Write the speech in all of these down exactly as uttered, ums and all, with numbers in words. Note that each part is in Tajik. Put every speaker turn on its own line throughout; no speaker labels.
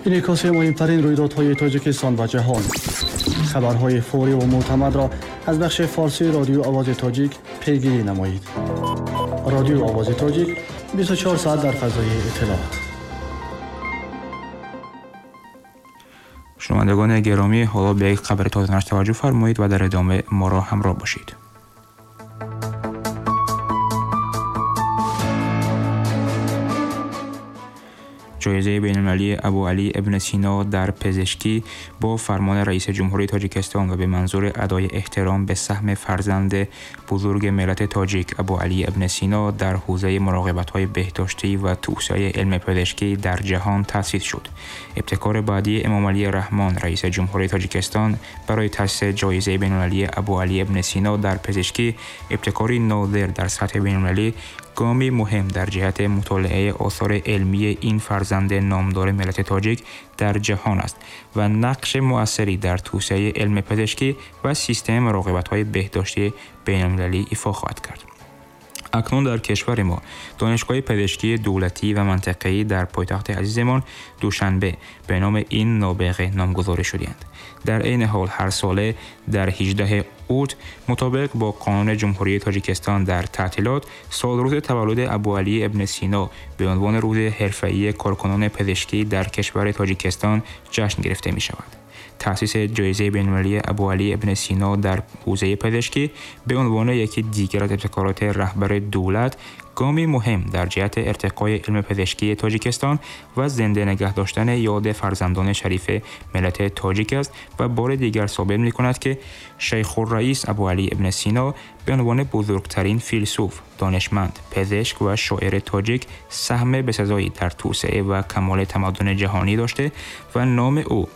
Инъикоси муҳимтарин рӯйдодҳои Тоҷикистон ва ҷаҳон, хабарҳои фаврӣ ва мӯътамадро аз бахши форсии Радиои Овози Тоҷик пайгирӣ намоед. Радиои Овози Тоҷик бисту чаҳор соат дар фазои иттилоот.
Шунавандагони гиромӣ, ҳоло ба як хабари тозанаш таваҷҷӯҳ фармоед ва дар идома моро ҳамроҳ бошед. ҷоизаи байналмилалии Абӯалӣ ибни Сино дар пизишкӣ бо фармони раиси ҷумҳурии Тоҷикистон ва ба манзури адои эҳтиром ба саҳми фарзанди бузурги миллати тоҷик Абӯалӣ ибни Сино дар ҳавзаи муроқибатҳои беҳдоштӣ ва тавсеаи илми пизишкӣ дар ҷаҳон таъсис шуд. Ибтикори баъдии Эмомалӣ Раҳмон, раиси ҷумҳурии Тоҷикистон, барои таъсиси ҷоизаи байналмилалии Абӯалӣ ибни Сино дар пизишкӣ ибтикори нодир дар сатҳи байналмилалӣ, гоми муҳим дар ҷиҳати мутолиаи осори илмии ин фарзанди номдори миллати тоҷик дар ҷаҳон аст ва нақши муассире дар тавсеаи илми пизишкӣ ва системаи муроқибатҳои беҳдоштии байналмилалӣ ифо хоҳад кард. Акнун дар кишвари мо донишгоҳи пизишкии давлатӣ ва минтақавӣ дар пойтахти азизамон Душанбе ба номи ин нобиға номгузорӣ шудаанд. Дар айни ҳол ҳар сола дар ҳаждаҳуми اوت مطابق با قانون جمهوری تاجیکستان در تعطیلات سالروز تولد ابوعلی ابن سینا به عنوان روز حرفه‌ای کارکنان پزشکی در کشور تاجیکستان جشن گرفته می شود. تأسیس جایزه بین‌المللی ابوعلی ابن سینا در حوزه پزشکی به عنوان یکی دیگر از ابتکارات رهبر دولت گامی مهم در جهت ارتقای علم پزشکی تاجیکستان و زنده نگه داشتن یاد فرزندان شریف ملت تاجیک است و بار دیگر ثابت می‌کند که شیخ الرئیس ابوعلی ابن سینا به عنوان بزرگترین فیلسوف، دانشمند، پزشک و شاعر تاجیک سهم بسزایی در توسعه و کمال تمدن جهانی داشته و نام او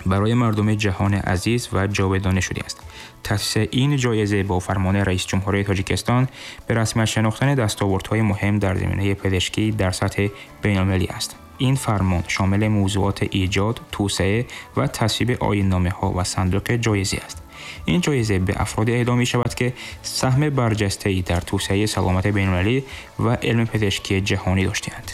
برای مردم جهان عزیز و جاودانه شده است. تأسیس این جایزه با فرمان رئیس جمهوری تاجیکستان به رسمیت شناختن دستاوردهای مهم در زمینه پزشکی در سطح بین‌المللی است. این فرمان شامل موضوعات ایجاد، توسعه و تصویب آیین‌نامه‌ها و صندوق جایزه است. این جایزه به افراد اعطا می‌شود که سهم برجسته‌ای در توسعه سلامت بین‌المللی و علم پزشکی جهانی داشته‌اند.